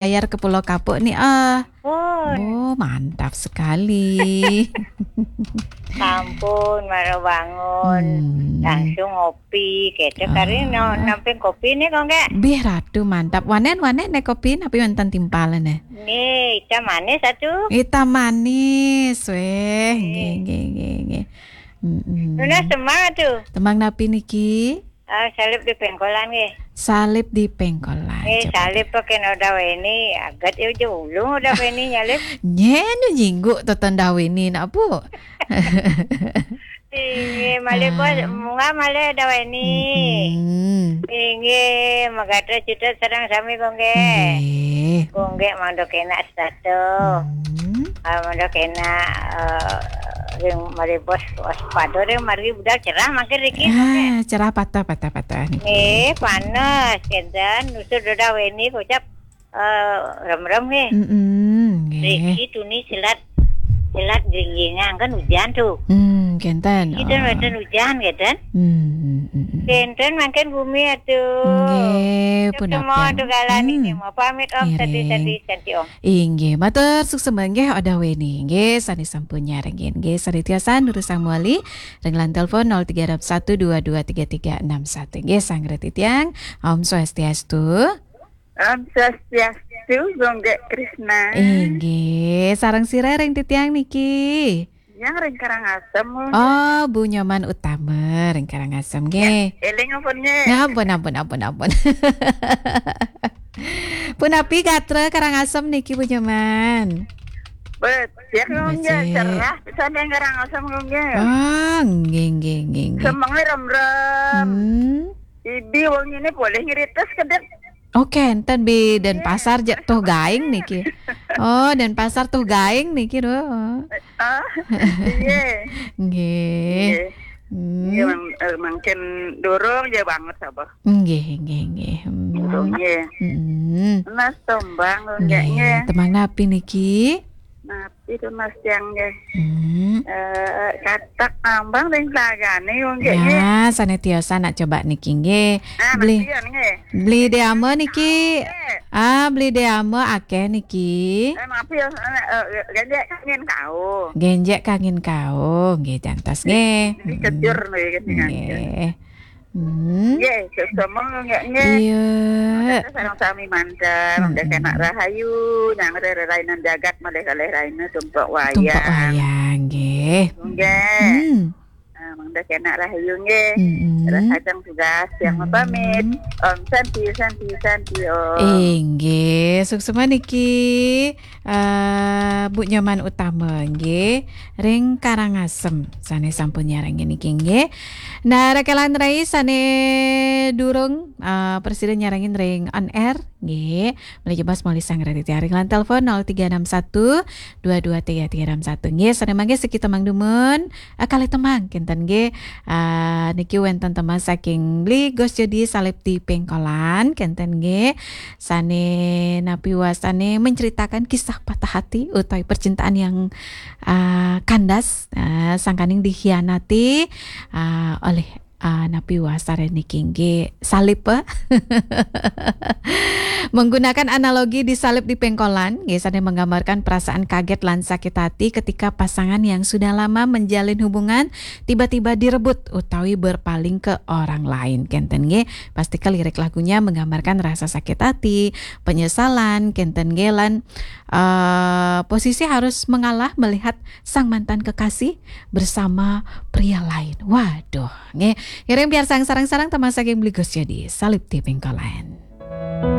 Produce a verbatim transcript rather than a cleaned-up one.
Layar ke Pulau Kapuk ni, ah. Oh, mantap sekali. Sampun, mara bangun. Hmm. Langsung ngopi, gitu. Kari no, namping kopi ni, kok nggak? Bih, Ratu, mantap. Wanen, wanen ne kopi, napi wonten timpal ne? Nih, hitam manis satu. Hitam manis, weh. Nggih, nggih, nggih, nggih. Mm-mm. Nunas tembang tuh. Tembang napi niki? Ah, salib di pengkolan nggih. Salib di pengkolan. Eh, coba salib deh. Pakai noda weni, agat ya aja ulung udah weni nyalib. Nyen nyinggu toton daweni nak, Bu. Iya, malih bos, ah, munggah malih daweni. Mm-mm. Inggih, magatra cutet sareng sami kok nggih. Nggih. Kok nggih mangda kenak setata. Hmm. Ah, mangda kenak, eh, ring malih bos waspada ring margi budal cerah mangkin riki. Ah, cerah patah, patah, patah niki. Nggih, panas kenten. Nusur dodah weni kocap, eh, rem-rem nggih. Mm-mm, nggih. Riki tuni silat, silat gringgingang kan hujan tuh. Hmm, kenten. Kita wonten hujan kenten. Hmm, hmm, hmm, hmm. Kenten mangkin bumi atuh. Nggih, punapi. Semua tuh galani nggih, mau pamit Om, ngiring. Sadi-sadi, sadi Om. Inggih, matur suksma nggih Odah Weni. Nggih, sane sampun nyarengin. Nggih, sane tiasa nurusang mawali ring line telepon nol tiga enam satu dua dua tiga tiga enam satu. Nggih, sareng titiang. Om Swastiastu. Om Swastiastu, Gunggek Krisna. Inggih, sareng sira ring titiang niki? Yang ring Karangasem, Bu. Oh, Bu Nyoman Utama ring Karangasem, nggih. Ya, eling ampun, nggih. Ampun, ampun, ampun, ampun. Punapi gatra Karangasem niki, Bu Nyoman? Becik, nggih, becik. Cerah pisan yang Karangasem, nggih. Ah, nggih, nggih, nggih, nggih. Semenge rem-rem. Hmm. Idi wong ini boleh ngritis kedek. Oke, enten Bi, Denpasar je-, tuh gaing niki. Oh, Denpasar tuh gaing niki, duh. Ah, iya. Nggih. Iya. Hmm. Iya, mang-, eh, mangkin durung ya banget, Abah. Nggih, nggih, nggih. Hmm. Durung, nggih. Hmm. Mas Tombang, nggih, nggih, nggih. Tembang napi niki? Napi tuh, Mas, yang, nggih? Hmm. Eh, katak nambang ring tagane, nggih, nggih. Ya, sane tiosan nak coba niki, nggih. Ah, beli, Mas Dion, nggih. Beli Deama niki. Nggih. Ah, beli Deama akeh niki. Eh, maaf ya, eh, eh, genjek kangin kau. Genjek kangin kau, nggih, jantos, nggih. Jadi kejur, nggih, nggih. Hmm. Nggih, sesama nggih, nggih. Iya. Mangda sareng sami mantep, mangda kenak rahayu, nyang rerainan jagat malih kalih raina tumpek wayang. Tumpek wayang, nggih. Nggih. Hmm. Ah, mangda kenak rahayu, nggih. Mm-mm. Rahajeng tugas yang pamit. Om Santi, Santi, Santi, Om. Inggih, suksma niki. Eh, Bu Nyoman Utama nggih, ring Karangasem sane sampun nyarengin niki nggih. Nah, rekelan rai sane durung, eh, presida nyarengin ring on air nggih. Malih jebos malih sareng titiang ring line telepon nol tiga enam satu dua dua tiga tiga enam satu nggih. Sane mangke siki tembang dumun, eh, kalih tembang kenten nggih. Eh, niki wenten tembang saking Bli Gus Jodi Salib di Pengkolan kenten nggih. Sane napi wasane menceritakan kisah patah hati utawi percintaan yang, ah, kandas, ah, sangkaning dikhianati, ah, oleh, ah, napi wasane niki nggih salib, eh. Menggunakan analogi di salib di pengkolan, nggih, sane menggambarkan perasaan kaget lan sakit hati ketika pasangan yang sudah lama menjalin hubungan tiba-tiba direbut utawi berpaling ke orang lain. Kenten nggih, pasti lirik lagunya menggambarkan rasa sakit hati, penyesalan, kenten nggih, lan, eh, posisi harus mengalah melihat sang mantan kekasih bersama pria lain. Waduh, nggih. Ngiring piarsang sareng-sareng tembang saking Bli Gus Jodi, Salib di Pengkolan.